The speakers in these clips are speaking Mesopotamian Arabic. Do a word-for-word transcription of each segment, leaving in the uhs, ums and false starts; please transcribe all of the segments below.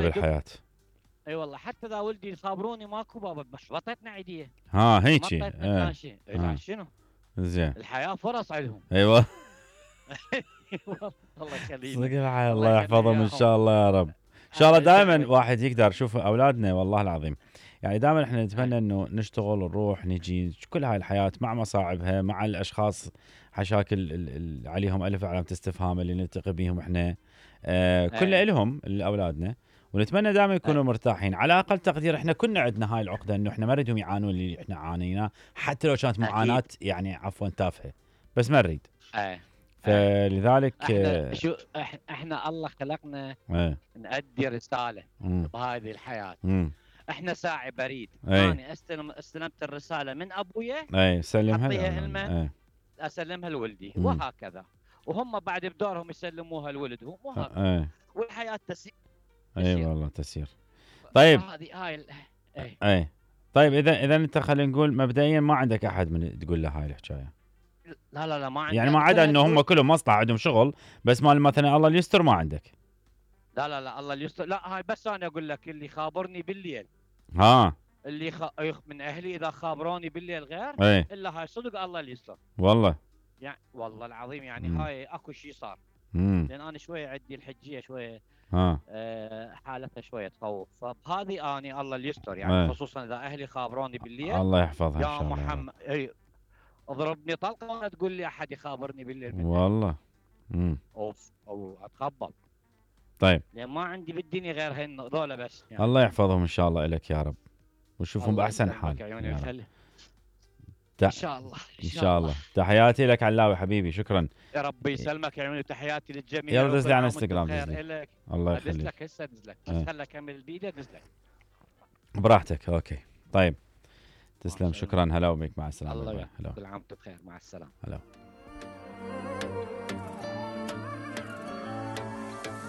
بالحياه. اي والله حتى اذا ولدي يخابروني ماكو بابا بطيتنا عيديه. ها هيجي. ما طيتنا ايه. شيء. لا شنو؟ زين. الحياه فرص عندهم. ايوه. الله يخليك. صدق الحياه الله يحفظهم ان شاء الله يا رب. ان شاء الله دائما واحد يقدر يشوف اولادنا والله العظيم. يعني دائما احنا نتمنى انه نشتغل نروح نجي كل هاي الحياه مع مصاعبها مع الاشخاص حشاكل اللي عليهم الف علامه استفهام اللي نلتقي بهم احنا آه كل لهم لاولادنا. ونتمنى دائما يكونوا مرتاحين على اقل تقدير. احنا كنا عندنا هاي العقده انه احنا ما نريدهم يعانون اللي احنا عانيناه حتى لو كانت معاناه يعني عفوا تافهه بس ما نريد. فلذلك احنا شو احنا الله خلقنا ايه نأدي رساله مم. بهذه الحياه. مم. احنا ساعي بريد. ايه. انا استلم استلمت الرساله من ابويا. ايه سلمها لها. ايه. اسلمها لولدي مم. وهكذا. وهم بعد بدورهم يسلموها لولدهم وهكذا. ايه. والحياه تسير. اي والله تسير. طيب هذه هاي ايه. ايه. طيب اذا اذا انت خلينا نقول مبدئيا ما عندك احد من تقول له هاي الحكايه. لا لا لا ما عندي. يعني ما عدا انه هم كلهم مصلحه عندهم شغل بس مال مثلا الله يستر ما عندك. لا لا لا الله يستر. لا هاي بس انا اقول لك اللي خابرني بالليل. ها. اللي خ... من اهلي اذا خابروني بالليل غير. ايه. الا هاي صدق الله يستر. والله. يعني والله العظيم يعني مم. هاي اكو شيء صار. مم. لان انا شويه عندي الحجيه شويه. ها. آه حالتها شويه تخوف فبهذه اني الله يستر يعني ايه. خصوصا اذا اهلي خابروني بالليل. الله يحفظها ان شاء الله. يا محمد اي اضربني طلقه وانا تقول لي احد يخابرني بالليل منها. والله. امم اوف او اتخبط. طيب لان ما عندي بالدنيا غير هن ذولا بس يعني. الله يحفظهم ان شاء الله لك يا رب ونشوفهم باحسن حال يعني ت... ان شاء الله ان شاء الله. تحياتي لك علاوي حبيبي شكرا. يا رب يسلمك يا عيوني تحياتي للجميع. يلا دز لي على انستغرام دز لي. الله يخليك. دز لك هسه دز لك بس خلي اكمل الفيديو دز لك براحتك. اوكي طيب تسلم شكرا. هلا وبك مع السلامه. الله يعطيك كل عام وانتم بخير مع السلامه. هلا.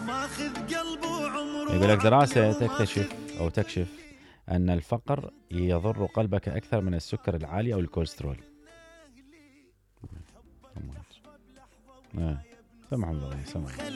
ماخذ قلبه عمره. يقول لك دراسه تكتشف او تكشف ان الفقر يضر قلبك اكثر من السكر العالي او الكوليسترول. ايه سمح الله سمح.